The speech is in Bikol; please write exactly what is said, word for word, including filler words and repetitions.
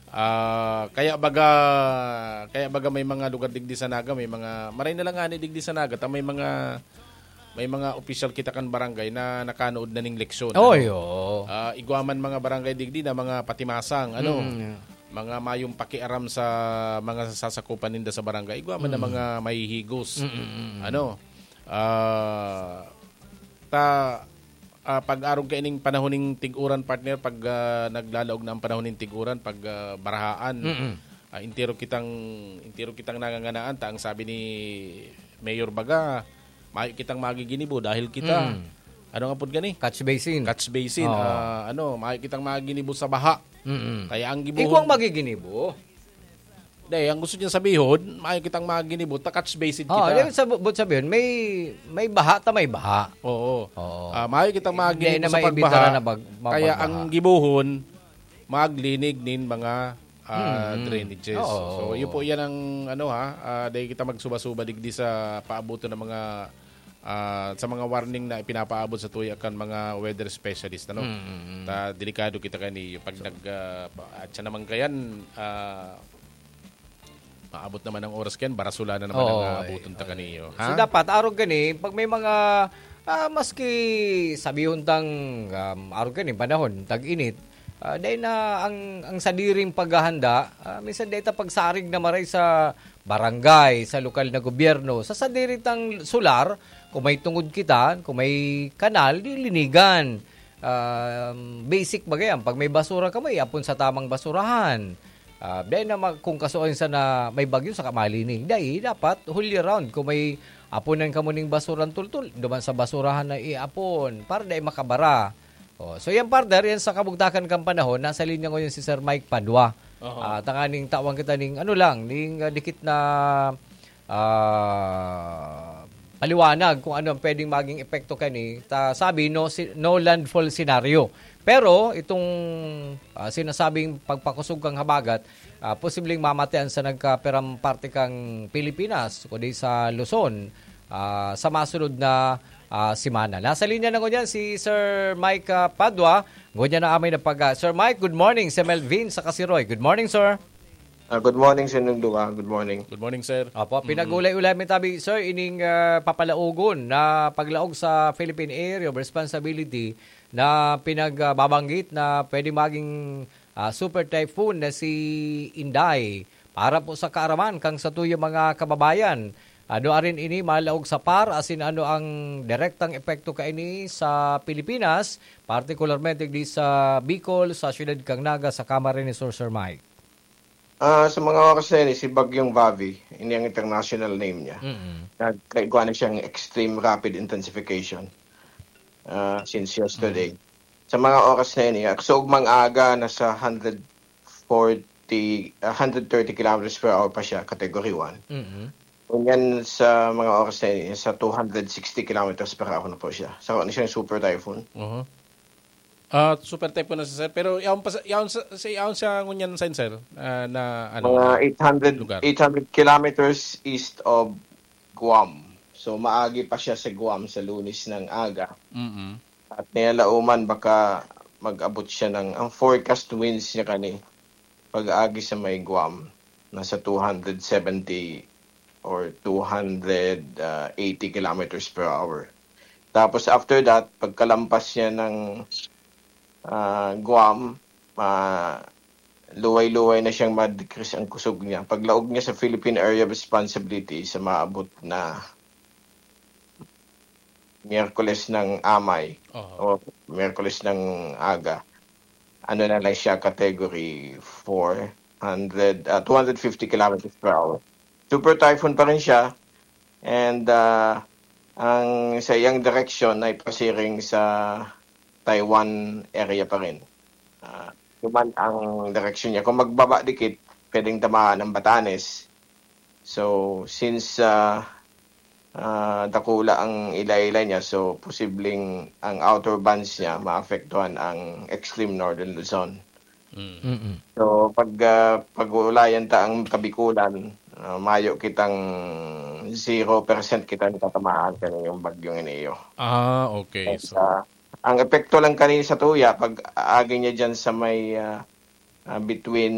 Ah, kaya baga, kaya baga may mga lugar digdi sa Naga, may mga, maray na lang ngani digdi sa Naga, ta may mga, may mga opisyal kita kan barangay na nakanood na ning leksyon, Oy, ano? Oo. Ah, igwa man mga barangay digdi na mga patimasang, ano? Mm. Mga mayong pakiaram sa mga sasakupan ninda sa barangay, igwa man na Mm. mga mahihigos. Mm, mm, mm. Ano? Ah, ta, ah, pag-arog kaining panahon ning tig-uran, partner, pag, ah, naglalaog na ang panahon ning tig-uran, pag, ah, barahaan, Mm. ah, entero kitang, entero kitang nanganganaan, ta ang sabi ni Mayor baga, mayo kitang magiginibo dahil kita, Mm. ano nga pud gani? Catch basin. Catch basin, Oo. ah, ano, mayo kitang magiginibo sa baha. Mm. Kaya ang gibohon Ikaw ang magiginibo. Dai, ang gusto niya sabihon, mayo kitang magiginibo, ta catch basin Oo, kita. yung sa bu-, buot sabihon, may, may baha, ta may baha. Oo. Oo. Ah, mayo kitang Hindi magiginibo na sa may pagbaha. imbitara na bag-, Kaya magbagbaha. ang gibohon, maglinig nin mga, ah, Mm. drainages. Oo. So, yun po yan ang, ano, ha, ah, dai kita magsuba-suba digdi sa paabuton ng mga, ah, sa mga warning na ipinapaabot sa tuya kan mga weather specialist, ano? Mm, mm, mm. Ta, delikado kita kani pag So nag, ah, pa-, at siya naman kayan, ah, maabot naman ang oras kayan, barasula na naman Oo, ang, ah, eh, abuton ta oo. kaniyo, So, ha? dapat arog gani, pag may mga, ah, maski sabihon tang, um, arog gani, panahon, tag-init, ah, dai na ang, ang sadiring paghahanda, ah, minsan dai ta pagsarig na maray sa barangay, sa lokal na gobyerno. Sa sadiri tang solar, kung may tungod kita, kung may kanal, di linigan. Um, basic baga yan. Pag may basura ka, may apon sa tamang basurahan. Ah, dai na mag-, kung kasuon sana may bagyo, saka malinig. Dai, dapat whole year round. Kung may aponan kamo ning basurang tultol, duman sa basurahan na iapon para dai makabara. Oh, so yan, partner, yan sa kabugtakan kan panahon. Nasa linya ngayon si Sir Mike Padua. Oho. Ah, tanganing tawan kita ning, ano lang, ning, ah, dikit na, ah, paliwanag kung ano ang pwedeng maging epekto kani. Ta, sabi, no si-, no landfall scenario. Pero itong, ah, sinasabing pagpakusog kang habagat, ah, posibleng mamatean sa nagkaperang parte kang Pilipinas, kundi sa Luzon, ah, sa masunod na, ah, semana. Nasa linya na ngunyan si Sir Mike, ah, Padua. Ngunyan na amay na pag, ah, Sir Mike, good morning. Si Melvin sa Kasiroy. Good morning, sir. Ah, good morning sa inyong duwa. Good morning. Good morning, sir. Opo, Mm. pinag-ulay-ulay mi tabi, sir, ining, ah, papalaogon na paglaog sa Philippine Area of Responsibility na pinagbabanggit na pwede maging, ah, super typhoon na si Inday. Para po sa kaaraman kang satuyang mga kababayan, ano arin ini malaog sa PAR, asin ano ang direktang epekto kaini sa Pilipinas, partikularmente di sa Bicol, sa siyudad kang Naga, sa Camarines Sur, Sir Mike? Ah, sa mga oras na yan, si Bagyong Vavi, ini ang international name niya. Mm. Nagkaigwa na siyang extreme rapid intensification, ah, since yesterday. Mm. Sa mga oras na yan, eh, sa ugmang aga, nasa hundred forty, ah, hundred thirty kilometers per hour pa siya, category one. Mm. Ngunyan sa mga oras na yan, eh, sa two hundred sixty kilometers per hour na po siya. So, ano siyang super typhoon? Oho. Ah, super typhoon na siya, sir. Pero yaon pa sa, yaon sa, sa, yaon siya ngunyan sa, sir, ah, na, ano, Mga eight hundred, lugar? eight hundred kilometers east of Guam. So, maagi pa siya sa Guam sa Lunes ng aga. Mm. At niya lauman, baka mag-abot siya ng, ang forecast winds niya kani, pag-agi sa may Guam, nasa two hundred seventy or two hundred eighty kilometers per hour. Tapos after that, pagkalampas niya ng, ah, Guam, ma-, luway-luway na siyang ma-decrease ang kusog niya. Paglaog niya sa Philippine Area of Responsibility, sa maabot na Miyerkules ng amay Oho. o Miyerkules ng aga, ano na lang siya, category four hundred, ah, two hundred fifty kilometers per hour. Super typhoon pa rin siya. And, ah, ang sa iyang direksyon ay pasiring sa Taiwan area pa rin. Ah, yun man ang direksyon niya. Kung magbaba dikit, pwedeng tamaan ng Batanes. So, since, ah, ah, dakula ang ilay-ilay niya, so, posibleng ang outer bands niya maapektuhan ang extreme northern Luzon. Mm. Mm-mm. So, pag, ah, pag-uulayan ta ang Kabikulan, ah, mayo kitang zero percent kita natatamaan kaning bagyong ini. Ah, okay. Yes, So ah, ang epekto lang kani sa tuya, pag-agi niya dyan sa may, ah, ah, between